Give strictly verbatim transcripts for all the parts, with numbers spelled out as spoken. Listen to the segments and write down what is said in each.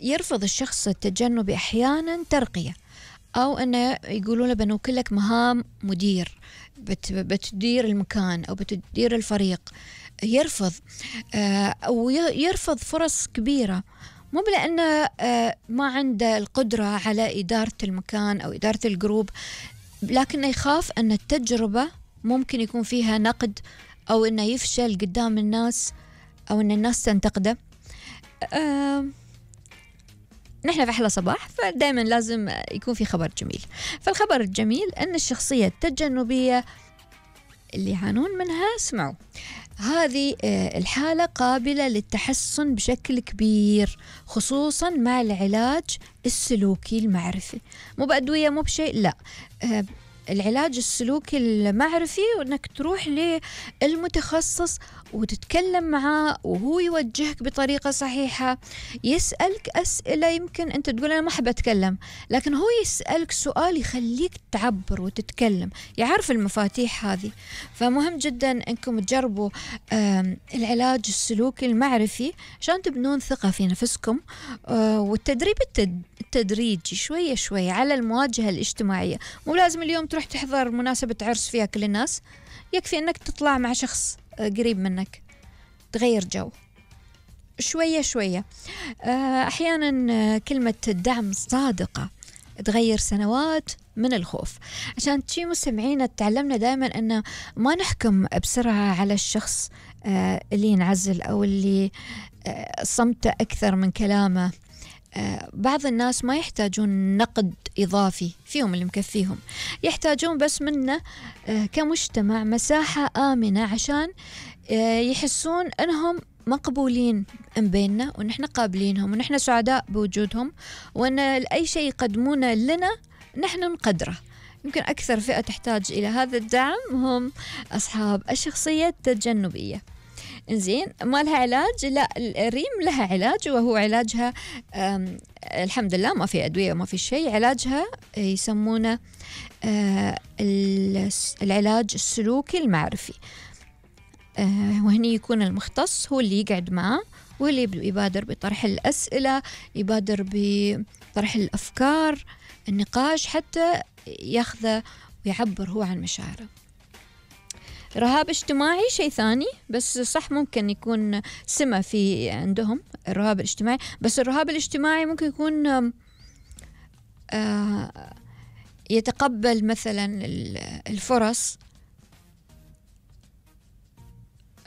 يرفض الشخص التجنبي أحيانا ترقية، أو أنه يقولوا له بنوكلك مهام مدير، بت بتدير المكان أو بتدير الفريق. يرفض أو يرفض فرص كبيرة، مو لأنه ما عنده القدرة على إدارة المكان أو إدارة الجروب، لكنه يخاف أن التجربة ممكن يكون فيها نقد، أو أنه يفشل قدام الناس، أو أن الناس تنتقده. أه نحن في أحلى صباح، فدائما لازم يكون في خبر جميل. فالخبر الجميل أن الشخصية التجنبية اللي يعانون منها، اسمعوا، هذه الحالة قابلة للتحسن بشكل كبير، خصوصا مع العلاج السلوكي المعرفي. مو بأدوية، مو بشيء، لا، العلاج السلوكي المعرفي، وأنك تروح للمتخصص وتتكلم معاه وهو يوجهك بطريقة صحيحة، يسألك أسئلة يمكن أنت تقول أنا ما أحب أتكلم، لكن هو يسألك سؤال يخليك تعبر وتتكلم، يعرف المفاتيح هذه. فمهم جدا أنكم تجربوا العلاج السلوكي المعرفي عشان تبنون ثقة في نفسكم، والتدريب التدريجي شوية شوية على المواجهة الاجتماعية. مو لازم اليوم تروح تحضر مناسبة عرس فيها كل الناس، يكفي أنك تطلع مع شخص قريب منك، تغير جو شوية شوية. أحيانا كلمة الدعم صادقة تغير سنوات من الخوف. عشان شي مستمعين، تعلمنا دائما أن ما نحكم بسرعة على الشخص اللي ينعزل أو اللي صمت أكثر من كلامه. بعض الناس ما يحتاجون نقد إضافي، فيهم اللي مكفيهم، يحتاجون بس منا كمجتمع مساحة آمنة عشان يحسون أنهم مقبولين بيننا، ونحن قابلينهم، ونحن سعداء بوجودهم، وأن أي شيء يقدمونه لنا نحن نقدره. يمكن أكثر فئة تحتاج إلى هذا الدعم هم أصحاب الشخصية التجنبية. إنزين، ما لها علاج؟ لا، الريم لها علاج، وهو علاجها الحمد لله ما في أدوية وما في شيء. علاجها يسمونه العلاج السلوكي المعرفي، وهني يكون المختص هو اللي يقعد معه، واللي يبادر بطرح الأسئلة، يبادر بطرح الأفكار، النقاش، حتى ياخذه ويعبر هو عن مشاعره. رهاب اجتماعي شيء ثاني، بس صح ممكن يكون سمة في عندهم الرهاب الاجتماعي، بس الرهاب الاجتماعي ممكن يكون يتقبل مثلا الفرص.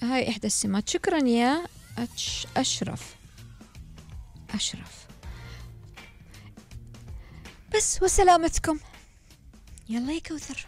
هاي إحدى السمات. شكرا يا أشرف أشرف بس، وسلامتكم. يلا يا كوثر.